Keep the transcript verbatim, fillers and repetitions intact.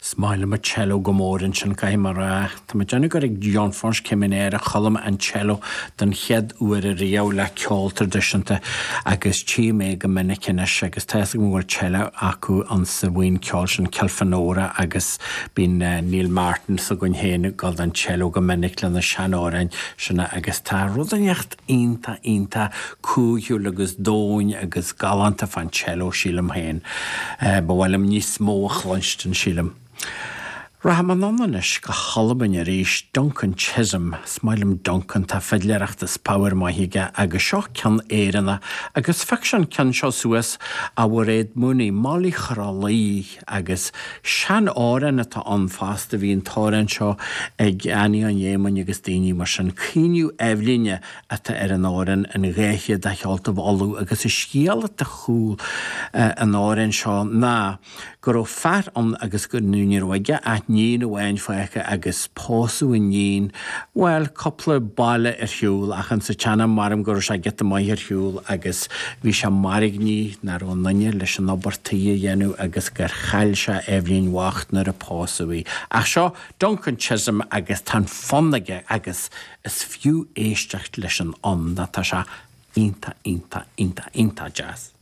Is maith liom an cello go mór ansin caithfidh mé a rá. Tá mé ag déanamh gur ag John French Céimeanna a chuala mé an cello don chéad uair ariamh le ceol traidisiúnta agus tchím é go minic anois agus tá a fhios agam go bhfuil cello acu an sa bhuíon ceoil sin Kilfenora agus bíonn Neil Martin s'againn féin ag dul don cello go minic lena seanamhráin sin agus tá rud inteacht iontach iontach cúthail agus domhain agus galánta fán cello sílim féin. Ba mhaith liom níos mó a chluinstin sílim. Rachaidh mé anonn anois go hAlbain arís, Duncan Chisholm, is maith liom Duncan, tá fidléireacht is pabhar maith aige agus seo ceann Éireannach agus phioc sé an ceann seo suas ó Mhairéad Mooney, Molly Chrollaí agus seanamhrán atá ann fosta bhí an t-amhrán seo ag Annie an Éamoinn agus daoine mar sin Caoineadh Eibhlíne atá ar an amhrán an dhá chéad de Cheoltaibh Uladh agus is scéal atá chúl an amhráin seo ná go raibh fear ann agus go ní raibh aige ach iníon amháin fágtha agus pósadh an iníon, bhuel, cúpla baile ar shiúl ach an sa tseanam maram go raibh sé giota maith ar shiúl agus bhí sé mairgní nach raibh aon duine leis an obair tí a dhéanamh agus gur chaill sé Eibhlín bhocht nuair a pósadh í. Ach seo Duncan Chisholm agus tá an fonn aige agus is fiú éisteacht leis an fhonn tá sé iontach iontach iontach iontach deas.